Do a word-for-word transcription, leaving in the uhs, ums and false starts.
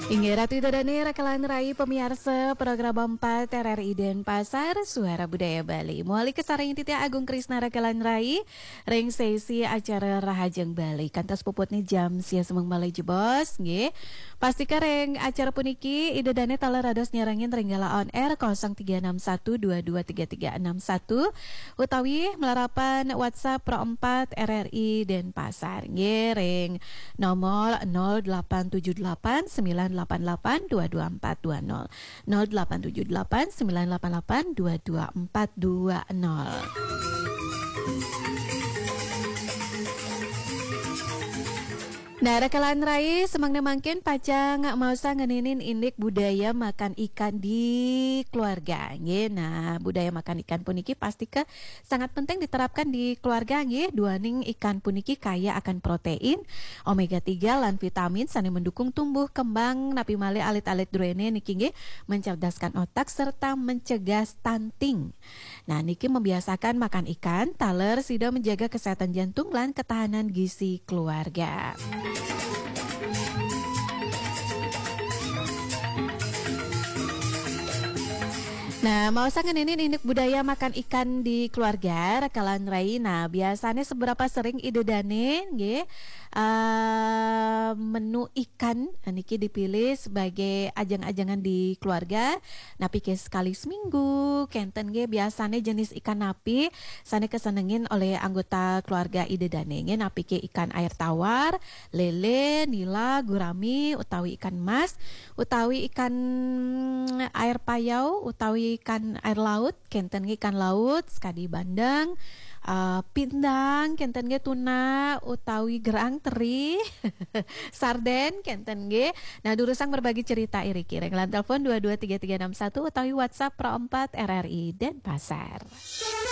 Inggih Ratu Ida Dane, Rakalan Rai, pamiarsa program empat R R I Denpasar, Suara Budaya Bali. Muali kasarengin titiang Agung Krisna, Rakalan Rai, ring sesi acara Rahajeng Bali. Kantos puputne jam sia semeng malih jebos, nggih. Pastika ring acara puniki, Ida Dane taler dados nyarengin ring galah on air kosong tiga enam satu dua dua tiga tiga enam satu, utawi malarapan WhatsApp Pro empat R R I Denpasar, nggih, ring nomor nol delapan tujuh delapan sembilan delapan delapan dua dua empat dua nol. Nol delapan tujuh delapan sembilan delapan delapan dua dua empat dua nol. Nah, Rakalan Rai, semeng mangkin pacang maosang ngeninin indik budaya makan ikan di keluarga, nggih. Nah, budaya makan ikan puniki pastika sangat penting diterapkan di keluarga, nggih. Duaning ikan puniki kaya akan protein, omega tiga, lan vitamin sane mendukung tumbuh kembang, napi malih alit-alit druene niki, nggih, mencerdaskan otak serta mencegah stunting. Nah, niki membiasakan makan ikan, taler sida menjaga kesehatan jantung lan ketahanan gizi keluarga. Nah, maosang ngeninin indik budaya makan ikan di keluarga, Rakalan Rai. Nah, biasanya seberapa sering Ida Dane, nggih, eh, menu ikan niki dipilih sebagai ajang-ajangan di keluarga? Napi ke sekali seminggu, kenten nggih, biasanya jenis ikan napi sane kesenengin oleh anggota keluarga Ida Dane, nggih? Napi ke ikan air tawar, lele, nila, gurami, utawi ikan mas, utawi ikan air payau, utawi ikan air laut, kenten nggih, ikan laut, sekadi bandeng, eh, pindang, kenten nggih, tuna, utawi gerang, teri, sarden, kenten nggih. Nah, durusang berbagi cerita iriki ring line telepon dua dua tiga tiga enam satu utawi WhatsApp Pro empat R R I Denpasar.